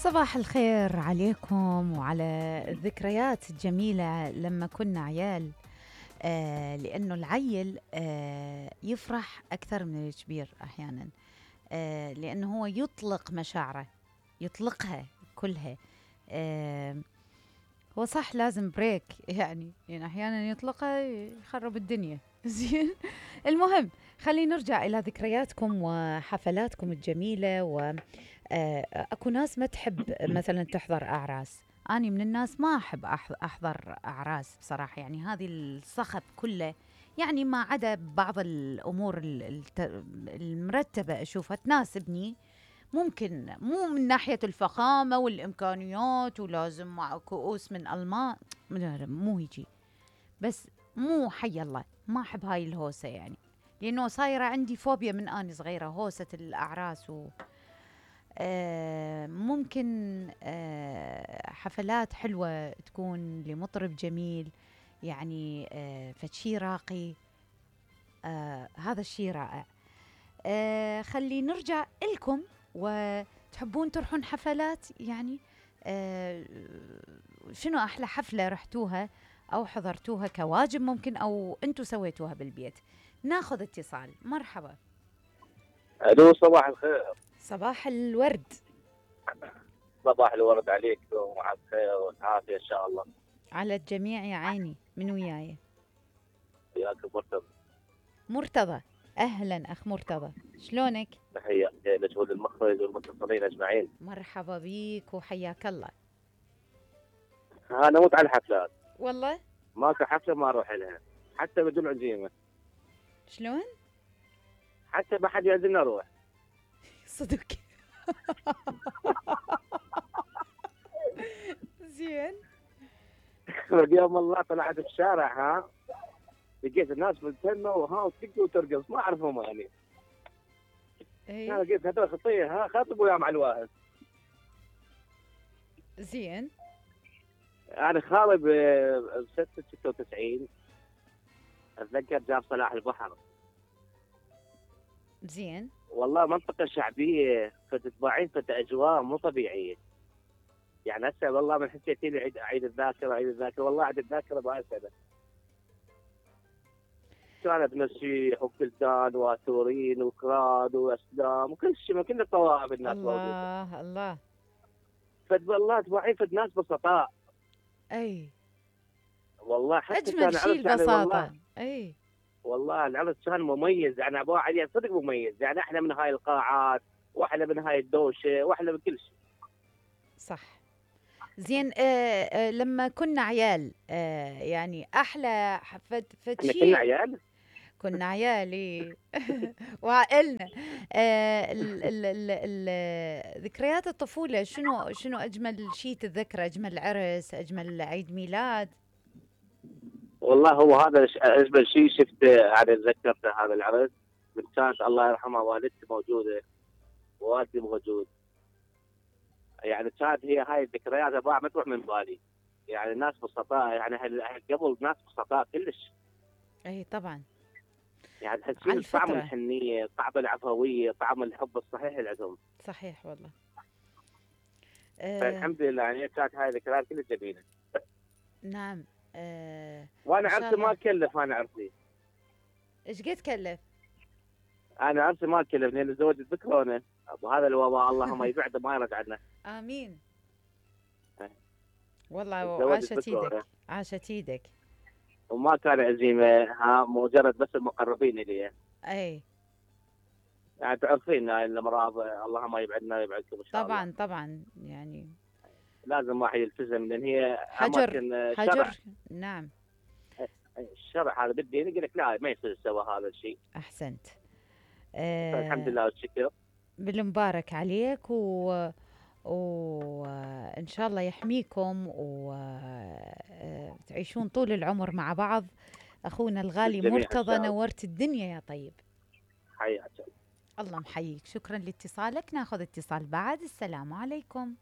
صباح الخير عليكم وعلى الذكريات الجميلة لما كنا عيال. لأنه العيل يفرح أكثر من الكبير أحيانا. لأنه هو يطلق مشاعره، يطلقها كلها. هو صح لازم بريك يعني أحيانا يطلقها يخرب الدنيا. زين. المهم خلينا نرجع إلى ذكرياتكم وحفلاتكم الجميلة. و اكو ناس ما تحب مثلا تحضر اعراس. اني من الناس ما احب احضر اعراس بصراحه، يعني هذه الصخب كله، يعني ما عدا بعض الامور المرتبه اشوفها تناسبني. ممكن مو من ناحيه الفخامه والامكانيات ولازم مع كؤوس من المان، مو هيجي، بس مو حي الله ما احب هاي الهوسه، يعني لانه صايره عندي فوبيا من اني صغيره هوسه الاعراس. ممكن حفلات حلوة تكون لمطرب جميل، يعني فشي راقي. هذا الشيء رائع. خلي نرجع إلكم، وتحبون تروحون حفلات يعني. شنو أحلى حفلة رحتوها أو حضرتوها كواجب ممكن، أو أنتوا سويتوها بالبيت؟ ناخذ اتصال. مرحبا. الو، صباح الخير. صباح الورد. صباح الورد عليك ومع الخير والعافيه ان شاء الله. على الجميع يا عيني. من وياي؟ وياك مرتضى. مرتضى. اهلا اخ مرتضى، شلونك؟ تحيه لك وللمخرج والمتصلين اجمعين. مرحبا بيك وحياك الله. انا موت على الحفلات، والله ماكو حفله ما اروح لها حتى بدون عزيمه، شلون؟ حتى ما حد يعزمني اروح. صدق. زين. يوم الله طلعت الشارع، لقيت الناس ملتمه وتدق وترقص، ما اعرفهم يعني. ايه. انا لقيت هذول خطيه، خاطبوا يا مع الواهب. زين. انا خالي ب 96 اتذكر جاب صلاح البحر. زين. والله منطقة شعبية، فتتباعين أجواء مو طبيعية. يعني هسه والله من حسيتي لي عيد الذاكرة، والله عيد الذاكرة بهاي السنة. كانت مسيح وكلدان واتورين وكراد واسلام وكل شيء، ما كنا طوائف الناس موجودة. الله الله. والله تباعين ناس بسطاء. اي. والله حتى اجمل كان شيء عرس يعني البساطة. اي. والله العرس كان مميز، يعني ابو علي صدق مميز، يعني احنا من هاي القاعات واحنا من هاي الدوشة واحنا من كل شيء. صح. زين. لما كنا عيال يعني احلى احنا كنا فتشي. عيال. كنا عيالي. وعائلنا. ذكريات الطفولة، شنو أجمل شيء تتذكره؟ أجمل عرس، أجمل عيد ميلاد؟ والله هو هذا اجمل شيء شفته، يعني تذكرته هذا العرس. من كانت الله يرحمها والدتي موجوده ووالدي موجود، يعني كانت هي هاي الذكريات ابغى ما تروح من بالي. يعني الناس بسطاء، يعني قبل ناس بسطاء كلش. أي طبعا. يعني على تحسين طعم الفطرة. الحنيه، طعم العفويه، طعم الحب الصحيح اللي عندهم. صحيح والله. فالحمد لله يعني كانت هاي الذكريات كلش جميله. نعم. وانا إن شاء عرسي ما الله. كلف، انا عرسي إيش قد كلف؟ انا عرسي ما كلف لان زوجي بكورونا، وهذا الوباء اللهم يبعده ما يرد عنا. آمين. والله تزوجت عاشت بكورونا ايدك، عاشت ايدك. وما كان عزيمه، مجرد بس المقربين الي. اي يعني تعرفين هاي الامراض الله ما يبعدنا ويبعدكم ان شاء الله. طبعا طبعا يعني. لازم واحد يلتزم لان هي حجر اماكن حجر. شرع. نعم. الشرع هذا بالدين يقول لك لا ما يصير سوى هذا الشيء. أحسنت. فالحمد آه لله والشكر. بالمبارك عليك، وإن شاء الله يحميكم وتعيشون طول العمر مع بعض. أخونا الغالي بالجميع ان مرتضى، شاء الله. نورت الدنيا يا طيب. حياك. الله محييك. شكرا لاتصالك. ناخذ اتصال بعد. السلام عليكم.